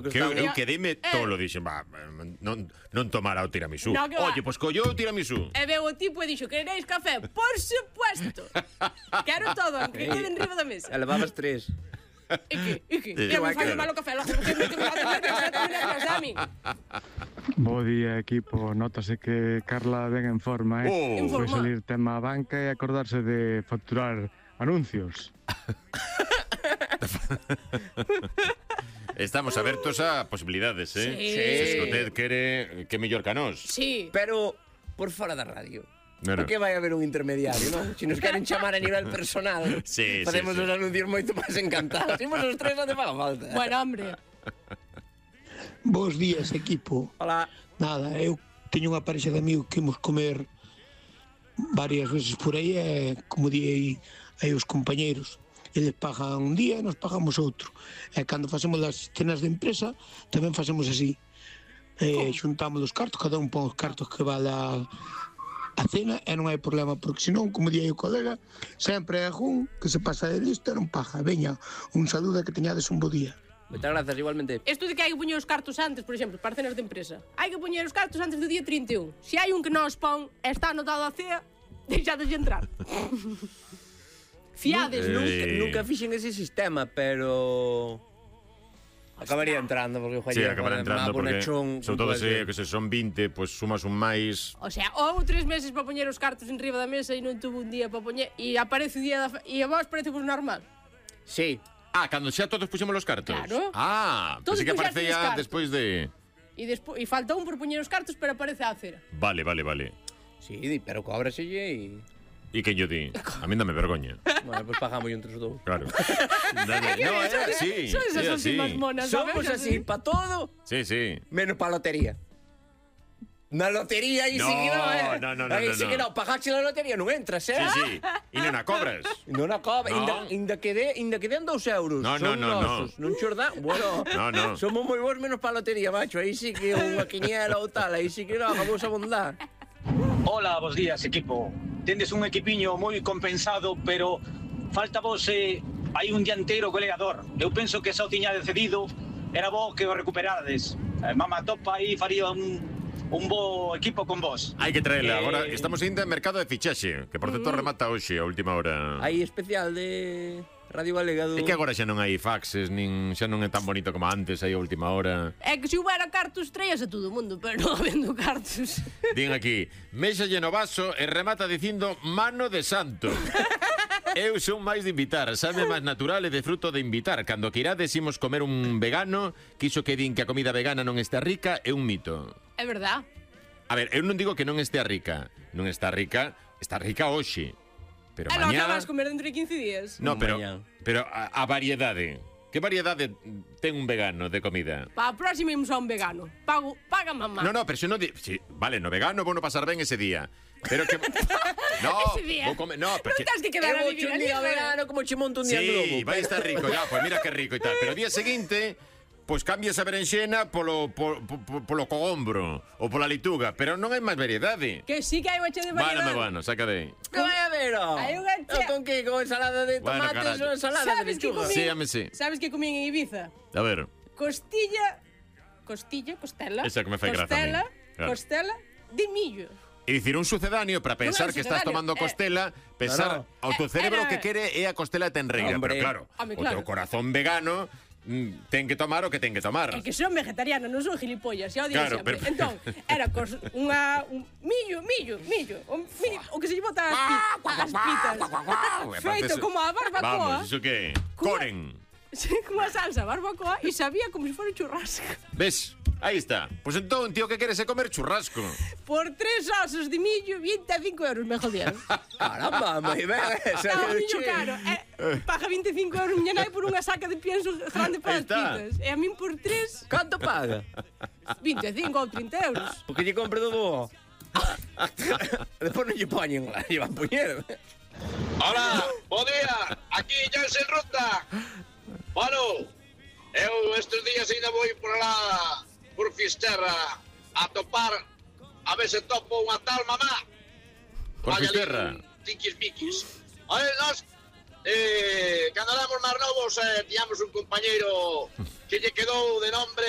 Eu quedeime tolo, dixen, non tomara o tiramisú. Oye, pois collou o tiramisú. E veu o tipo e dixo, quereréis café? Por supuesto. Quero todo, que quede en riba da mesa. E levabas 3. E que? Eu me fallo malo café, logo que me a mí. Bo día, equipo. Nótase que Carla ven en forma, Foi salir tema a banca e acordarse de facturar anuncios. Estamos abertos a posibilidades, Sí. Se usted quere que mellor que a nós. Sí. Pero por fora da radio. Bueno. Por que vai haber un intermediario, non? Se nos queren chamar a nivel personal, facemos os anuncios moito máis encantados. Imos os tres onde faga falta. Bueno, hombre. Bos días, equipo. Hola. Nada, eu teño unha parexa de amigos que imos comer varias veces por aí e, como di aí os compañeiros, eles pagan un día e nos pagamos outro. E cando facemos as cenas de empresa tamén facemos así. Xuntamos os cartos, cada un pon os cartos que vale a cena e non hai problema, porque senón, como di aí o colega, sempre hai algún que se pasa de lista e non paga. Veña, un saludo e que teñades un bo día. Moitas grazas, igualmente. Isto de que hai que poñer os cartos antes, por exemplo, para cenas de empresa. Hai que poñer os cartos antes do día 31. Se hai un que non os pon e está anotado a cea, deixades de entrar. Fiades, Nunca fixen ese sistema, pero acabaría entrando porque Sí, acabará entrando porque sobre todo se son 20, pues sumas un máis. O sea, ou 3 meses para poñer os cartos en riba da mesa e non tuvo un día para poñer e aparece o día e a vos parece vos normal. Sí. Cando xa todos puxemos os cartos. Claro. Pensei que aparecía despois de E falta un por poñer os cartos, pero aparece a cera. Vale. Sí, pero cóbraselle E que yo di? A mí dame vergoña. Bueno, pues pagamos entre os dous. Claro. No, é así. Son esas últimas monas, somos así para todo. Sí. Menos para lotería. Na lotería aí sí que no. Aí sí que non, pagaxe na lotería non entras, Sí. E non a cobras. Non a cobras, inda que den 2 euros. No. Non xos dá, bueno. No. Somos moi bons menos para lotería, macho. Aí sí que unha quiniela ou tal, aí sí que non, vamos a bondar. Hola, bos días, equipo. Tendes un equipiño moi compensado, pero falta vos hai un dianteiro goleador. Eu penso que xa o tiña cedido, era bo que o recuperades. Mama Topa aí faría un bo equipo con vos. Hai que traela. Agora estamos indo en mercado de fichaxe, que por certo remata hoxe a última hora. Hai especial de Radio Galega do... É que agora xa non hai faxes, xa non é tan bonito como antes, aí a última hora. É que se houbera cartos traías a todo o mundo, pero non habendo cartos. Din aquí, méxalle no vaso e remata dicindo mano de santo. Eu son máis de invitar, sabe máis natural e de fruto de invitar. Cando que irades imos comer un vegano, que iso que din que a comida vegana non está rica é un mito. É verdad. A ver, eu non digo que non estea rica. Non está rica hoxe. Pero non mañá... acabas comer dentro de 15 días. No, pero a variedade. Que variedade ten un vegano de comida? Para a próxima imos a un vegano. Paga mamá. No, pero se non... Sí, vale, no vegano vou no pasar ben ese día. Pero que... No, ese día. Vou comer... No, porque... Non tens que quedar a vivir un día vegano como che monto un día globo. Sí, vai estar rico, ya, pues mira que rico e tal. Pero o día seguinte... Pois cambias a berenxena polo cogombro ou pola leituga, pero non hai máis variedade. Que sí que hai unha che de variedade. Bueno, saca de aí. Que vai a ver, Hai unha che... Con que? Con ensalada de tomates ou ensalada de lechuga? Sí. Sabes que comín en Ibiza? A ver. Costela. Esa que me fai graza a mí. Claro. Costela de millo. É dicir, un sucedáneo para pensar que estás tomando costela, pensar ao teu cerebro que quere é a costela tenreira, pero claro, o teu corazón vegano ten que tomar o que ten que tomar. É que son vegetariana, non son gilipollas, xa o digo claro, sempre. Pero... Entón, era un millo, o que se lle bota as pitas. Feito como a barbacoa. Vamos, iso que? Coren. Sí, como a salsa barbacoa e sabía como se fora churrasco. Ves? Aí está. Pois entón, tío, que queres é comer churrasco. Por 3 osos de millo, 25 euros me jodieron. Caramba, moi ben. Está o millo caro. Paga 25 euros miña nai por unha saca de pienso grande para as pitas. E a min por 3... Canto paga? 25 ou 30 euros. Porque lle compre do bo. Despois non lle poñen lá, lle van poñer. Hola, bo día. Aquí Jansen Ruta. Bueno, eu estes días ainda vou por lá, por Fisterra, a topar, a ver se topo unha tal mamá. Por Fisterra? Tiquis-miquis. A ver, nós, cando éramos máis novos, tiñamos un compañeiro que lle quedou de nombre